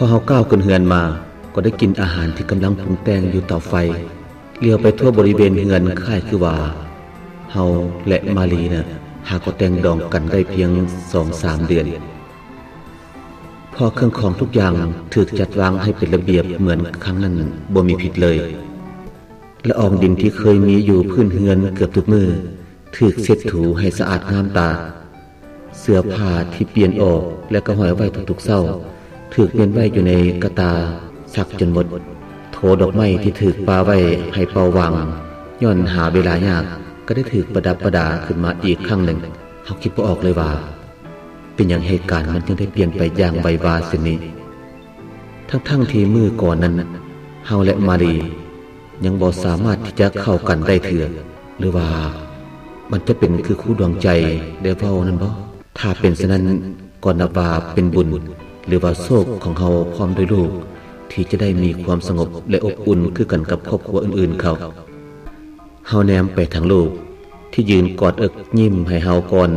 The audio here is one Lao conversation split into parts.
ພໍເຮົາກ້າວຂຶ້ນເຮືອນມາ ກໍໄດ້ກິ່ນອາຫານທີ່ກຳລັງປຸງແຕ່ງຢູ່ເຕົາໄຟ. ຫຼຽວໄປທົ່ວບໍລິເວນເຮືອນ ຄ້າຍຄືວ່າເຮົາ ແລະ ມາລີນະ ຫາກໍແຕ່ງດອງກັນໄດ້ພຽງສອງສາມເດືອນ. ເພາະເຄື່ອງຂອງທຸກຢ່າງຖືກຈັດວາງໃຫ້ເປັນລະບຽບເໝືອນຄັ້ງນັ້ນບໍ່ມີຜິດເລີຍ. ລະອອງດິນທີ່ເຄີຍມີຢູ່ພື້ນເຮືອນເກືອບທຸກມື້ ຖືກເຊັດຖູໃຫ້ສະອາດງາມຕາ. ເສື້ອຜ້າທີ່ປ່ຽນອອກ ແລະ ກໍຫ້ອຍໄວ້ທຸກໆເຊົ້າ ຖືກມ້ຽນໄວ້ຢູ່ໃນກະຕ່າຊັກຈົນໝົດ. ໂຖດອກໄມ້ທີ່ຖືກປະໄວ້ໃຫ້ເປົ່າຫວ່າງ ຍ້ອນຫາເວລາຍາກ ກໍໄດ້ຖືກປະດັບປະດາຂຶ້ນມາອີກຄັ້ງໜຶ່ງ. ເຮົາຄິດບໍ່ອອກເລີຍວ່າ ເປັນຫຍັງເຫດການມັນຈຶ່ງໄດ້ປ່ຽນໄປຢ່າງໄວວາເຊັ່ນນີ້ ທັງໆທີ່ມື້ກ່ອນນັ້ນ ເຮົາ ແລະ ມາລີ ຍັງບໍ່ສາມາດທີ່ຈະເຂົ້າກັນໄດ້ເທື່ອ. ຫຼືວ່າມັນຈະເປັນຄືຄູດວງໃຈໄດ້ເວົ້ານັ້ນບໍ? ຖ້າເປັນສະນັ້ນ ກໍນັບວ່າເປັນບຸນ ຫຼືວ່າໂຊກຂອງເຮົາພ້ອມດ້ວຍລູກ ທີ່ຈະໄດ້ມີຄວາມສະຫງົບ ແລະ ອົບອຸ່ນຄືກັນກັບຄອບຄົວອື່ນໆເຂົາ. ເຮົາແນມໄປທາງລູກທີ່ຢືນກອດເອິກຍິ້ມໃຫ້ເຮົາກ່ອນ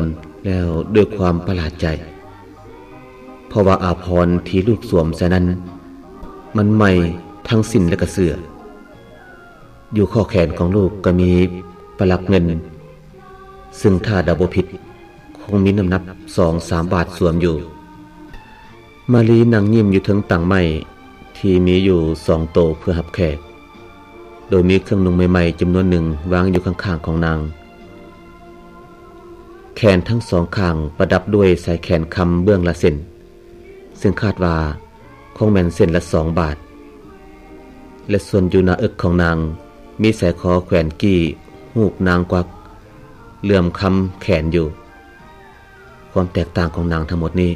ແລ້ວດ້ວຍຄວາມປະຫຼາດໃຈ ເພາະວ່າອາພອນທີ່ລູກສວມໃສ່ນັ້ນ ມັນໃໝ່ທັງສິ້ນ ແລະ ກະເສື້ອ. ຢູ່ຂໍ້ແຂນຂອງລູກກໍມີປະຫຼັກເງິນ ຊຶ່ງຖ້າເດົາບໍ່ຜິດ ຄົງມີນ້ຳໜັກສອງສາມບາດສວມຢູ່. ມາລີນັ່ງຍິ້ມຢູ່ເທິງຕັ່ງໄມ້ທີ່ມີຢູ່ສອງໂຕເພື່ອຮັບແຂກ ໂດຍມີເຄື່ອງນຸ່ງໃໝ່ໆຈຳນວນໜຶ່ງວາງຢູ່ຂ້າງໆຂອງນາງ. ແຂນທັງສອງຂ້າງປະດັບດ້ວຍສາຍແຂນຄຳເບື້ອງລະເສັ້ນ ຊຶ່ງຄາດວ່າຄົງແມ່ນເສັ້ນລະສອງບາດ ແລະ ສ່ວນຢູ່ໜ້າເອິກຂອງນາງ ມີສາຍຄໍແຂວນກີ້ຮູບນາງກວັກເຫຼື້ອມຄຳແຂນຢູ່. ຄວາມແຕກຕ່າງຂອງນາງທັງໝົດນີ້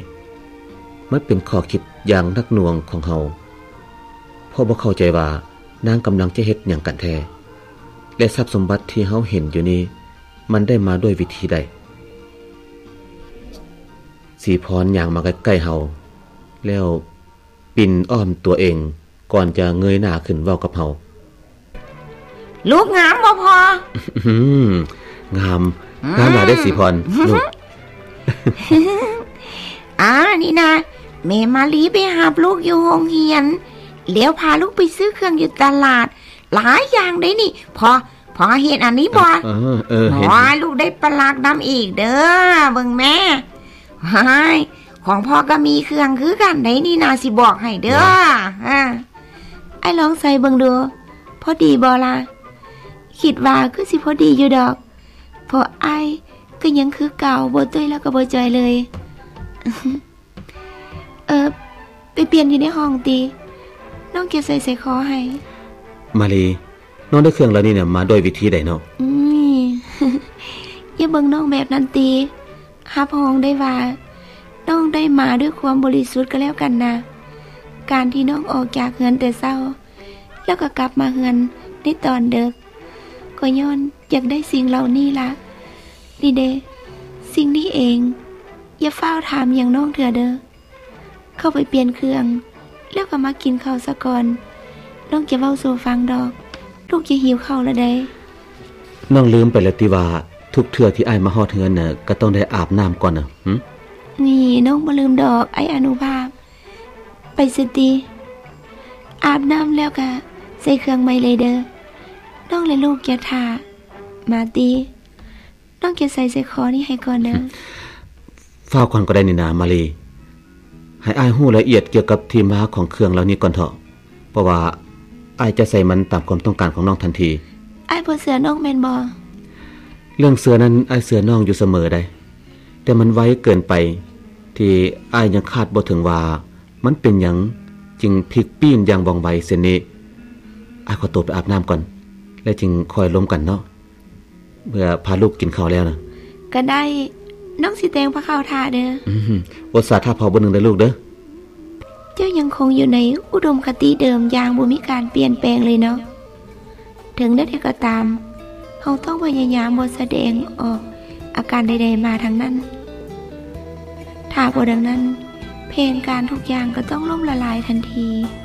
ມັນເປັນຂໍ້ຄິດຢ່າງໜັກໜ່ວງຂອງເຮົາ ເພາະບໍ່ເຂົ້າໃຈວ່ານາງກຳລັງຈະເຮັດຫຍັງກັນແທ້ ແລະ ຊັບສົມບັດທີ່ເຮົາເຫັນຢູ່ນີ້ ມັນໄດ້ມາດ້ວຍວິທີໃດ? ສີພອນຍ່າງມາໃກ້ໆເຮົາ ແລ້ວປິ່ນອ້ອມຕົວເອງ ກ່ອນຈະເງີຍໜ້າຂຶ້ນເວົ້າກັບເຮົາ. ລູກງາມບໍ່ພໍ່? ອືມ ງາມ ອືມ ງາມຫຼາຍເດ້ສີພອນ ລູກ. ອາ ນີ້ນະ ແມ່ມາລີໄປຮັບລູກຢູ່ໂຮງຮຽນ ແລ້ວພາລູກໄປຊື້ເຄື່ອງຢູ່ຕະຫຼາດ ຫຼາຍຢ່າງເດ້ນີ້. ພໍ່ ພໍ່ເຫັນອັນນີ້ບໍ່? ເອີ ເອີ ເຫັນ. ໂອ້ຍ ລູກໄດ້ປະຫຼັກນຳອີກເດີ້ ເບິ່ງແມ້. ວ້າຍ ຂອງພໍ່ກໍມີເຄື່ອງຄືກັນໃດນີ້ນາ ຊິບອກໃຫ້ເດີ້. ອາ ອ້າຍລອງໃສ່ເບິ່ງດູ ພໍດີບໍ່ລະ? ຄິດວ່າຄືຊິພໍດີຢູ່ດອກ ເພາະອ້າຍກໍຍັງຄືເກົ່າ ບໍ່ຕຸ້ຍແລ້ວກໍບໍ່ຈ່ອຍເລີຍ. ເອີ ໄປປ່ຽນຢູ່ໃນຫ້ອງຕິ ນ້ອງຈະໃສ່ສາຍຄໍໃຫ້. ມາລີ ນ້ອງໄດ້ເຄື່ອງເຫຼົ່ານີ້ນະ ມາດ້ວຍວິທີໃດເນາະ? ອືມ ຢ່າເບິ່ງນ້ອງແບບນັ້ນຕິ ຮັບຮອງໄດ້ວ່າ ນ້ອງໄດ້ມາດ້ວຍຄວາມບໍລິສຸດກໍແລ້ວກັນນະ. ການທີ່ນ້ອງອອກຈາກເຮືອນແຕ່ເຊົ້າ ແລ້ວກໍກັບມາເຮືອນໃນຕອນເດິກ ກໍຍ້ອນຢາກໄດ້ສິ່ງເຫຼົ່ານີ້ລະ. ນີ້ເດ້ ສິ່ງນີ້ເອງ. ຢ່າຟ້າວຖາມຫຍັງນ້ອງເທື່ອເດີ້. ເຂົ້າໄປປ່ຽນເຄື່ອງ ແລ້ວກໍມາກິນເຂົ້າສາກ່ອນ. ນ້ອງຈະເວົ້າສູ່ຟັງດອກ. ລູກຈະຫິວເຂົ້າລະໃດ໋. ນ້ອງລືມໄປແລ້ວຕິວ່າ ທຸກເທື່ອທີ່ອ້າຍມາຮອດເຮືອນນະ ກໍຕ້ອງໄດ້ອາບນ້ຳກ່ອນນະ. ຫຶ? ນີ້ ນ້ອງບໍ່ລືມດອກ ອ້າຍອະນຸພາບ. ໄປຊະຕິ ອາບນ້ຳແລ້ວກະໃສ່ເຄື່ອງໃໝ່ເລີຍເດີ້. ນ້ອງ ແລະ ລູກຢ່າຖ້າ. ມາຕິ ນ້ອງຈະໃສ່ສາຍຄໍນີ້ໃຫ້ກ່ອນເດີ້. ຟ້າວກ່ອນກໍໄດ້ນີ້ນາ ມາລີ. ໃຫ້ອ້າຍຮູ້ລະອຽດກ່ຽວກັບທີ່ມາຂອງເຄື່ອງເຫຼົ່ານີ້ກ່ອນເຖາະ, ເພາະວ່າອ້າຍຈະໃສ່ມັນຕາມຄວາມຕ້ອງການຂອງນ້ອງທັນທີ. ອ້າຍບໍ່ເຊື່ອນ້ອງແມ່ນບໍ່? ເລື່ອງເຊື່ອນັ້ນ ອ້າຍເຊື່ອນ້ອງຢູ່ສະເໝີໃດ໋, ແຕ່ມັນໄວເກີນໄປ ທີ່ອ້າຍຍັງຄາດບໍ່ເຖິງວ່າ ມັນເປັນຫຍັງຈຶ່ງພລິກປີ້ນຢ່າງວ່ອງໄວເຊັ່ນນີ້? ອ້າຍຂໍຕົວໄປອາບນ້ຳກ່ອນ ແລ້ວຈຶ່ງຄ່ອຍລົມກັນເນາະ, ເມື່ອພາລູກກິນເຂົ້າແລ້ວນະ. ກໍໄດ້, ນ້ອງຊິແຕ່ງພາເຂົ້າຖ້າເດີ້. ອືມ, ອົດສາຖ້າພໍ່ເບິ່ງໜຶ່ງເດີ້ລູກເດີ້. ເຈົ້າຍັງຄົງຢູ່ໃນອຸດົມຄະຕິເດີມຢ່າງບໍ່ມີການປ່ຽນແປງເລີຍເນາະ. ເຖິງແນວໃດກໍຕາມ, ເຮົາຕ້ອງພະຍາຍາມບໍ່ສະແດງອອກອາການໃດໆມາທັງນັ້ນ. ຖ້າບໍ່ດັ່ງນັ້ນ, ແຜນການທຸກຢ່າງກໍຕ້ອງລົ້ມລະລາຍທັນທີ.